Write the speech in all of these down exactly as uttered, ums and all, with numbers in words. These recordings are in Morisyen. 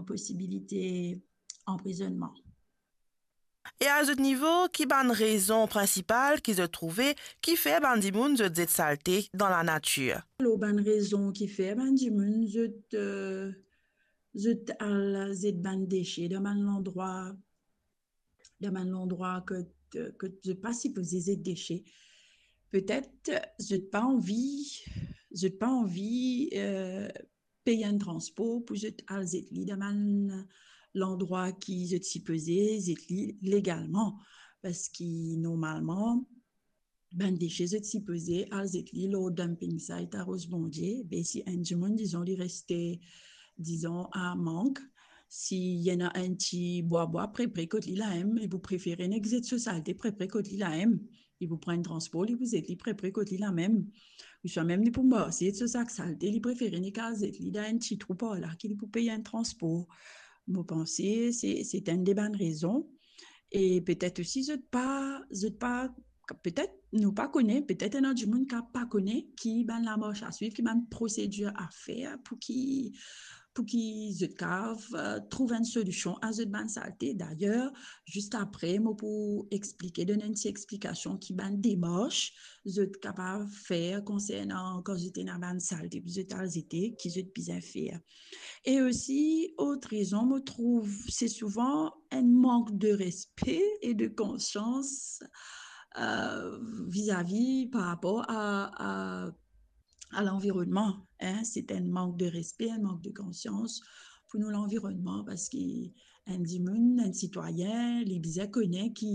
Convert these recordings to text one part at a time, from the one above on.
posibilite anprizonnman. E a zot nivo, ki bann rezon prinsipal ki zot trouve ki fer bann dimoun zot zet salte dan lanatir? Alor, bann rezon ki fer bann dimoun zot, eh, zot al zet bann dese dan bann landrwa, dan bann landrwa kot, kot zot pa sipoze zet dese. Petet zot pa anvi, zot pa anvi, eh, pey enn transpor pou zot al zet li dan bann landrwa ki zot sipoze zet li legalman. Parski normalman, bann dese zot sipoze al zet li lor dumping site a Roze Bondie. Be si enn dimoun, dizon, li reste, dizon, a Mank, si ena enn ti bwa bwa pre pre kot li la mem, li pou prefere nek zet so salte pre pre kot li la mem. Li pou pran enn transpor, li pou zet li pre pre kot li la mem. Ouswa mem li pou marse so sak salte, li prefere nek al zet li dan enn ti trou par la ki li pou pey enn transpor. Mo panse se, se enn de bann rezon. E petet osi zot pa, zot pa, petet nou pa kone, petet ena dimoun ki pa kone ki bann lamars a swiv, ki bann prosedir a fer pou ki, pou ki zot kapav, eh, trouv enn solision a zot bann salte. Dayer, zis apre, mo pou explike, donn enn ti explikasion ki bann demars zot kapav fer konsernan kan zot ena bann salte pou zot al zete, ki zot bizin fer. E osi, lot rezon, mo trouv, se souvan enn mank de respe e de konsians, eh, vizavi par rapor a, a, a lanvironnman, en. Se enn mank de respe, enn mank de konsians pou nou lanvironnman, parski enn dimoun, enn sitwayin, li bizin kone ki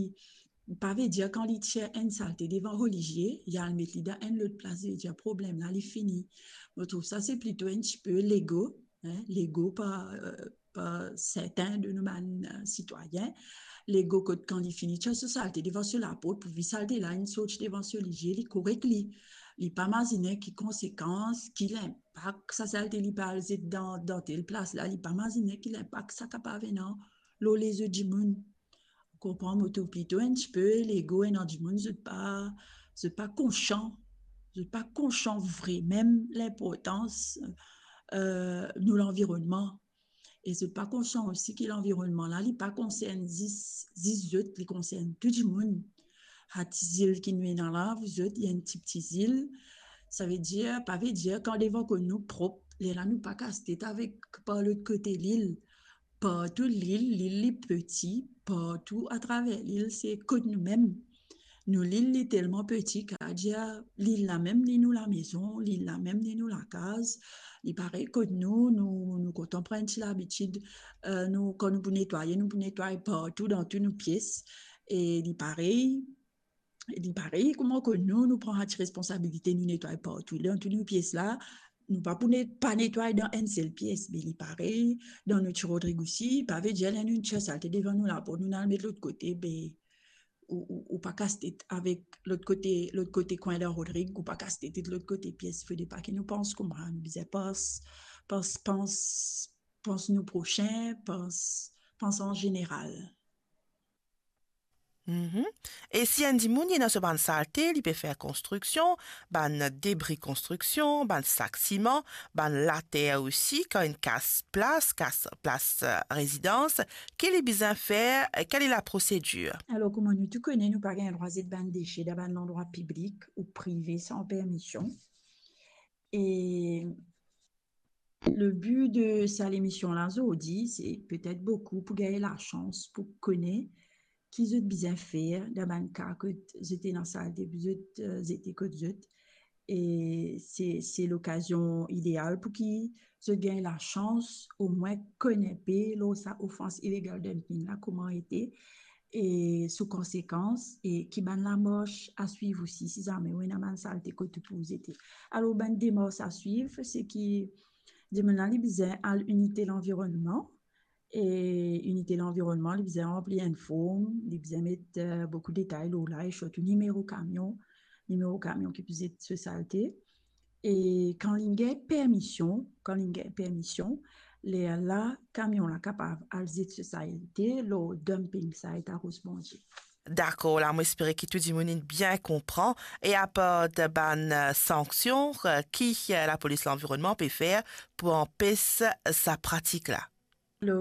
pa ve dir kan li tir enn salte devan relizie, li al met li dan enn lot plas, ve dir problem la, li fini. Mo trouv sa, se plito enn tipe lego, en, lego par, eh, par sertin de nou bann, eh, sitwayin. Lego kot kan li fini tir so salte devan so laport, pou vi salte la inn sorti devan so lizie, li korek li. Li pa mazine ki konsekans, ki linpak sa salte li pe al zet dan, dan tel plas la, li pa mazine ki linpak sa kapav ena lor lezot dimoun. Ou konpran, mo trouv plito enn tipe lego, ena dimoun, zot pa, zot pa konsian, zot pa konsian vre mem linportans, eh, nou lanvironnman. E zot pa konsian osi ki lanvironnman la, li pa konsern zis, zis zot, li konsern tou dimoun. Sa ti zil ki nou ena la, zot, li enn tipti zil. Sa ve dir, pa ve dir kan devan kot nou prop, lerla nou pa kas tet avek par lot kote lil. Partou lil, lil li peti, partou atraver lil, se kot nou mem. Nou lil li telman peti, kapav dir lil la mem li nou lamezon, lil la mem li nou lakaz. Li parey kot nou, nou, nou kontan pran ti labitid, eh, nou, kan nou pou netwaye, nou pou netway partou dan tou nou pies. E li parey, li parey kouma kot nou, nou pran sa ti responsabilite, nou netway partou dan tou nou pies la. Nou pa pou net-, pa netway dan enn sel pies, be li parey dan nou ti Rodrig osi. Pa ve dir ler nou tir salte devan nou laport, nou al met lot kote, be ou, ou, ou pa kas tet avek lot kote, lot kote kwin dan Rodrig, ou pa kas tet lot kote pies. Fode pa ki nou pans kouma, nou bizin pans, pans, pans, pans nou prosin, pans, pans an zeneral. Mhm. E si enn dimoun ena so bann salte, li pe fer konstriksion, bann debri konstriksion, bann sak siman, bann later osi, kan inn kas plas, kas plas, eh, rezidans, ki li bizin fer, eh, kel laprosedir? Alor, kouma nou tou kone, nou pa gagn drwa zet bann dese dan bann landrwa piblik ou prive san permision. E le bi de sa lemision la zordi, se petet boukou pou gagn lasans pou kone ki zot bizin fer dan bann ka kot zot ena salte pou zot, eh, zete kot zot. E se, se lokazion ideal pou ki zot gagn lasans omwin konn enpe lor sa ofans ilegal dumping la, kouma ete, e so konsekans, e ki bann lamars a swiv osi, si zame ou ena bann salte kot ou pou zete. Alor, bann demars a swiv, se ki dimoun la, li bizin al inite lanvironnman, e inite lanvironnman, li bizin ranpli enn form, li bizin met, eh, boukou detay lor la, e sirtou nimero kamion, nimero kamion ki pou zet so salte. E kan li gagn permision, kan li gagn permision, lerla kamion la kapav al zet so salte lor dumping site a Roze Bondie. Dakor, la, mo espere ki tou dimoun inn bien konpran. E apar bann, eh, sanksion, eh, ki, eh, lapolis lanvironnman pe fer pou anpes sa pratik la?